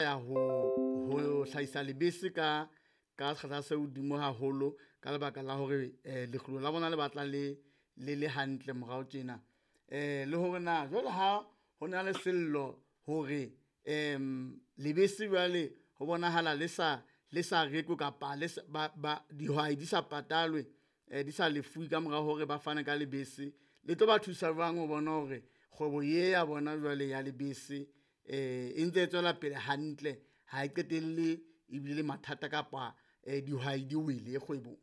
ya ho hlahisa lebese ka sekgahla se hodimo haholo ka lebaka la hore lekgulo la bona le batla le le hantle morao tjena. Le hore na jwale ha ho na le sello hore lebese jwale ho bonahala le sa rekwe kapa dihwai di sa patalwe, di sa lefuwe ka mora hore ba fane ka lebese, le tlo ba thusa jwang ho bona hore kgwebo ye ya bona jwale ya lebese e ntse e tswela pele hantle, ha e qetelle ebile mathata kapa dihwai di wele kgwebong?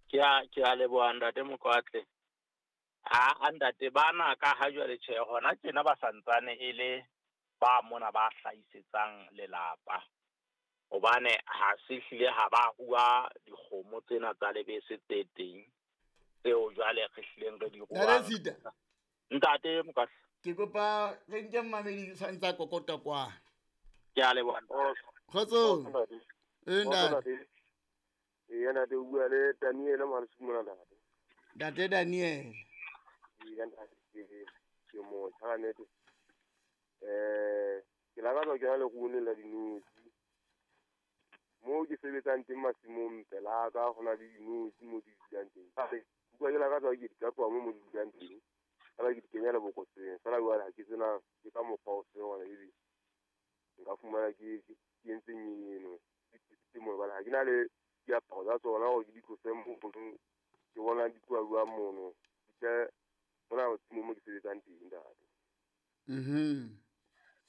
Ke a leboha ntate Mokoatle. A ntate bana ka ha jwale tjhe hona tjena ba santsane e le ba mona ba hlahisetsang lelapa. Hobane ha se hlile ha ba rua dikgomo tsena tsa lebese tse teng tseo jwale re hlileng re di ruang. Ntate Mokoatle, ke kopa re nke mmamedi sa ntsa kokota kwa. Ke a leboha. Kgotso. Ntate. Ee, ntate, o bua le Daniel Mohalesuku mona ntate. Ntate Daniel. Ee, ntate, ke motjha ka nnete. Ke lakatsa ho kena leruong la dinotshi. Moo ke sebetsang teng masimong pelaka ho na le dinotshi moo di dulang teng. Utlwa ke lakatsa ke di ka tloha moo di dulang teng. Fela ke di kenya lebokoseng. Fela jwale ha ke tsena ke ka mokgwa o feng hona ebe nka fumana ke entse eno. Ke mo hobane ha ke na le diaparo tsa tsona hore ke di tlose mono, ke bona di tloha jwang mono. Ke mona mo ke sebetsang teng ntate.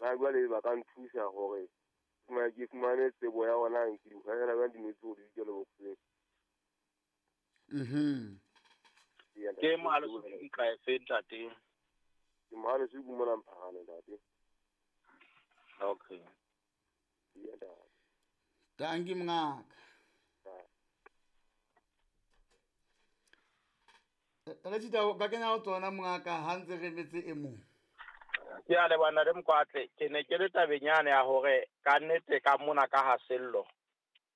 Na jwale ba ka nthusa hore ke fumane tsebo ya ona ke di hahela jwang dinotshi hore di dule lebokoseng. Ke Mohalesuku ka efe ntate? Ke Mohalesuku mona Mphahane ntate. Okay. Tanki mongaka. Tata ka kenya ho tsona mongaka ha ntse re metse e mong. Ke a leboha ntate Mokoatle. Ke ne ke le tabeng yane ya hore ka nnete ka mona ka ha sello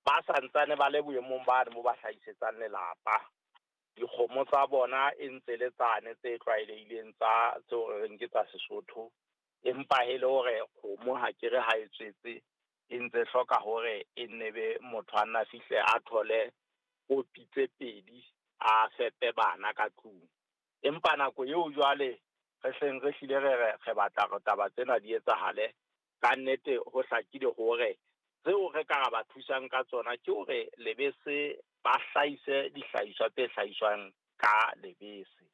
ba santsane ba le boemong bane mo ba hlahisetsang lelapa. Dikgomo tsa bona e ntse le tsane tse tlwaelehileng tsa tseo re reng ke tsa Sesotho, empa e le hore kgomo ha ke re ha e tswetse e ntse hloka hore e nne be motho a nna fihle a thole kopi tse pedi a fepe bana ka tlung. Empa nako eo jwale re hleng re hlile re batla re taba tsena di etsahale ka nnete, ho hlakile hore tseo re ka ra ba thusang ka tsona ke hore lebese ba hlahise dihlahiswa tse hlahiswang ka lebese.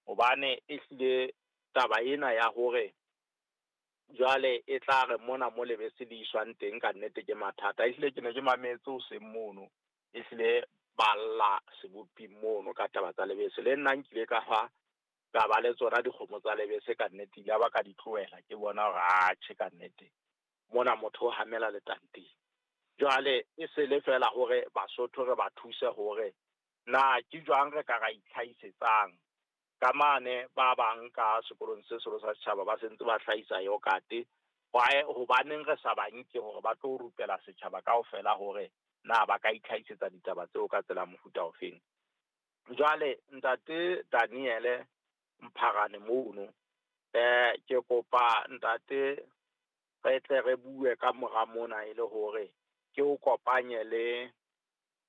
Hobane e hlile taba ena ya hore jwale e tla re mona mo lebese le iswang teng ka nnete ke mathata. Ehlile ke ne ke mametse hoseng mono, ehlile ba lla seboping mono ka taba tsa lebese. Le nna nkile ka fa ka ba le tsona dikgomo tsa lebese ka nnete, ile ba ka di tlohela ke bona hore atjhe ka nnete mona motho o hamela letanteng. Jwale e se le fela hore Basotho re ba thuse hore na ke jwang re ka ra itlhahisetsang. Ka mane ba bang ka sekolong se seholo sa setjhaba ba sentse ba hlahisa yogurt. Why hobaneng re sa ba nke hore ba tlo rupela setjhaba kaofela hore na ba ka itlhahisetsa ditaba tseo ka tsela mofuta ofeng. Jwale ntate Daniel Mpharane mono, ke kopa ntate re tle re bue ka mora mona e le hore ke o kopanye le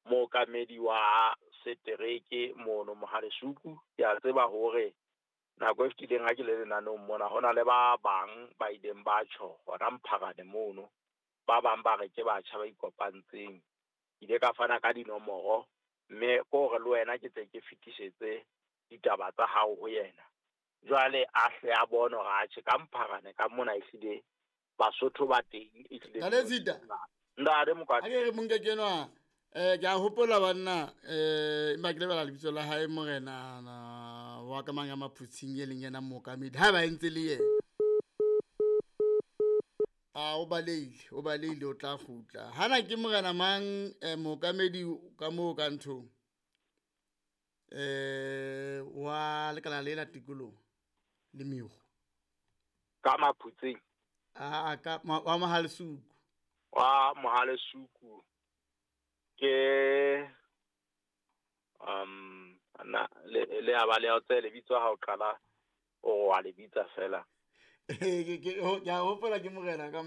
mookamedi wa setereke mono Mohalesuku. Ke a tseba hore nako e fetileng ha ke le lenaneong mona ho na le ba bang ba ileng ba tjho hona Mpharane mono, ba bang ba re ke batjha ba ikopantseng. Ke ile ka fana ka dinomoro mme ke hore le wena ke tle ke fetisetse ditaba tsa hao ho yena. Jwale a hle a bone hore atjhe ka Mpharane ka mona ehlile Basotho ba teng ehlile. Ntate Ntate Mokoatle. Ha ke re monke kenwa ke a hopola banna empa ke lebala lebitso la hae morena wa ka mang ya Maphutsing e leng yena mookamedi ha ba entse le yena. A o baleile o tla kgutla. Hana ke morena mang mookamedi ka moo ka nthong wa lekala le la tikoloho le meru ka Maphutsing a ka wa Mohalesuku. Wa Mohalesuku ke na le a ba le otse lebitso ha o qala o wa le bitsa fela. Ke a hopola ke morena ka